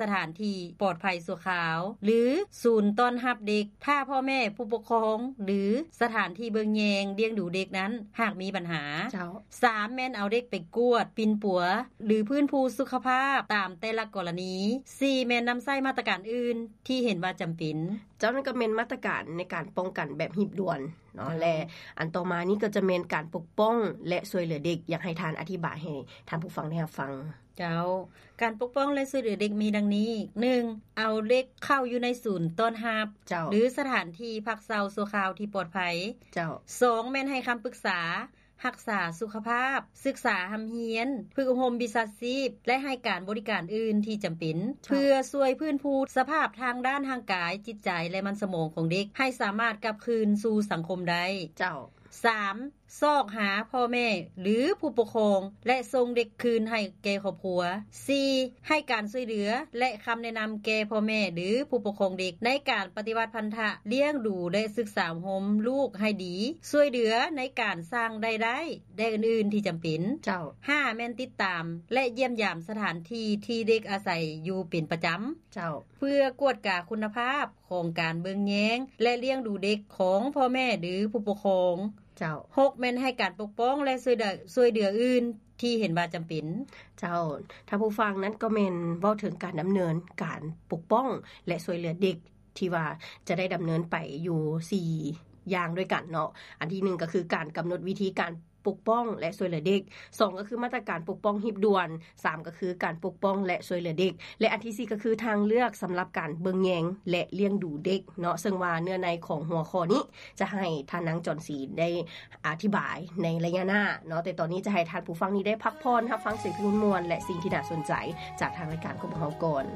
ສະຖານທີ່ປອດໄພຊົ່ວຄາວ ຫຼື ສູນຕ້ອນຮັບເດັກ ຖ້າພໍ່ແມ່, ຜູ້ປົກຄອງ ຫຼື ສະຖານທີ່ເບິ່ງແຍງລ້ຽງດູເດັກນັ້ນ ຫາກມີບັນຫາ. ເຈົ້າ. ສາມ ແມ່ນເອົາເດັກໄປກວດປິ່ນປົວ ຫຼື ຟື້ນຟູສຸຂະພາບຕາມແຕ່ລະກໍລະນີ. ສີ່ ແມ່ນນຳໃຊ້ມາດຕະການອື່ນທີ່ເຫັນວ່າຈຳເປັນ. ເຈົ້າ. ນັ້ນກໍແມ່ນມາດຕະການໃນການປ້ອງກັນແບບຮີບດ່ວນເນາະ. ເຈົ້າ. ແລະ ອັນຕໍ່ມານີ້ກໍຈະແມ່ນການປົກປ້ອງ ແລະ ຊ່ວຍເຫຼືອເດັກ. ຢາກໃຫ້ທ່ານອະທິບາຍໃຫ້ທ່ານຜູ້ຟັງໄດ້ຮັບຟັງ. ເຈົ້າ. ການປົກປ້ອງ ແລະ ຊ່ວຍເຫຼືອເດັກມີດັ່ງນີ້: ໜຶ່ງ ເອົາເດັກເຂົ້າຢູ່ໃນສູນຕ້ອນຮັບ ເຈົ້າ ຫຼື ສະຖານທີ່ພັກເຊົາຊົ່ວຄາວທີ່ປອດໄພ. ເຈົ້າ. ສອງ ແມ່ນໃຫ້ຄຳປຶກສາຮັກສາສຸຂະພາບ, ສຶກສາຮ່ຳຮຽນ, ຝຶກອົບຮົມວິຊາຊີບ ແລະ ໃຫ້ການບໍລິການອື່ນທີ່ຈຳເປັນ ເຈົ້າ ເພື່ອຊ່ວຍຟື້ນຟູສະພາບທາງດ້ານຮ່າງກາຍ, ຈິດໃຈ ແລະ ມັນສະໝອງຂອງເດັກ ໃຫ້ສາມາດກັບຄືນສູ່ສັງຄົມໄດ້. ເຈົ້າ. ສາມ ຊອກຫາພໍ່ແມ່ ຫຼື ຜູ້ປົກຄອງ ແລະ ສົ່ງເດັກຄືນໃຫ້ແກ່ຄອບຄົວ. ສີ່ ໃຫ້ການຊ່ວຍເຫຼືອ ແລະ ຄຳແນະນຳແກ່ພໍ່ແມ່ ຫຼື ຜູ້ປົກຄອງເດັກ ໃນການປະຕິບັດພັນທະລ້ຽງດູ ແລະ ສຶກສາອົບຮົມລູກໃຫ້ດີ, ຊ່ວຍເຫຼືອໃນການສ້າງລາຍໄດ້ ແລະ ອື່ນໆທີ່ຈຳເປັນ. ເຈົ້າ. ຫ້າ ແມ່ນຕິດຕາມ ແລະ ຢ້ຽມຢາມສະຖານທີ່ທີ່ເດັກອາໄສຢູ່ເປັນປະຈຳ. ເຈົ້າ. ເພື່ອກວດກາຄຸນນະພາບຂອງການເບິ່ງແຍງ ແລະ ລ້ຽງດູເດັກຂອງພໍ່ແມ່ ຫຼື ຜູ້ປົກຄອງ. ເຈົ້າ. ຫົກ ແມ່ນໃຫ້ການປົກປ້ອງ ແລະ ຊ່ວຍເຫຼືອ ຊ່ວຍເຫຼືອອື່ນທີ່ເຫັນວ່າຈຳເປັນ. ເຈົ້າ. ທ່ານຜູ້ຟັງ, ນັ້ນກໍແມ່ນເວົ້າເຖິງການດຳເນີນການປົກປ້ອງ ແລະ ຊ່ວຍເຫຼືອເດັກ ທີ່ວ່າຈະໄດ້ດຳເນີນໄປຢູ່ສີ່ຢ່າງດ້ວຍກັນເນາະ. ອັນທີໜຶ່ງກໍຄືການກຳນົດວິທີການປົກປ້ອງ ແລະ ຊ່ວຍເຫຼືອເດັກ. ສອງ ກໍຄືມາດຕະການປົກປ້ອງຮີບດ່ວນ. ສາມ ກໍຄືການປົກປ້ອງ ແລະ ຊ່ວຍເຫຼືອເດັກ ແລະ ອັນທີສີ່ ກໍຄືທາງເລືອກສຳລັບການເບິ່ງແຍງ ແລະ ລ້ຽງດູເດັກເນາະ. ເຊິ່ງວ່າເນື້ອໃນຂອງຫົວຂໍ້ນີ້ຈະໃຫ້ທ່ານນາງຈອນສີໄດ້ອະທິບາຍໃນໄລຍະໜ້າເນາະ, ແຕ່ຕອນນີ້ຈະໃຫ້ທ່ານຜູ້ຟັງນີ້ໄດ້ພັກຜ່ອນ ຮັບຟັງສຽງເພງມ່ວນໆ ແລະ ສິ່ງທີ່ໜ້າສົນໃຈຈາກທາງລາຍການຂອງພວກເຮົາກ່ອນ.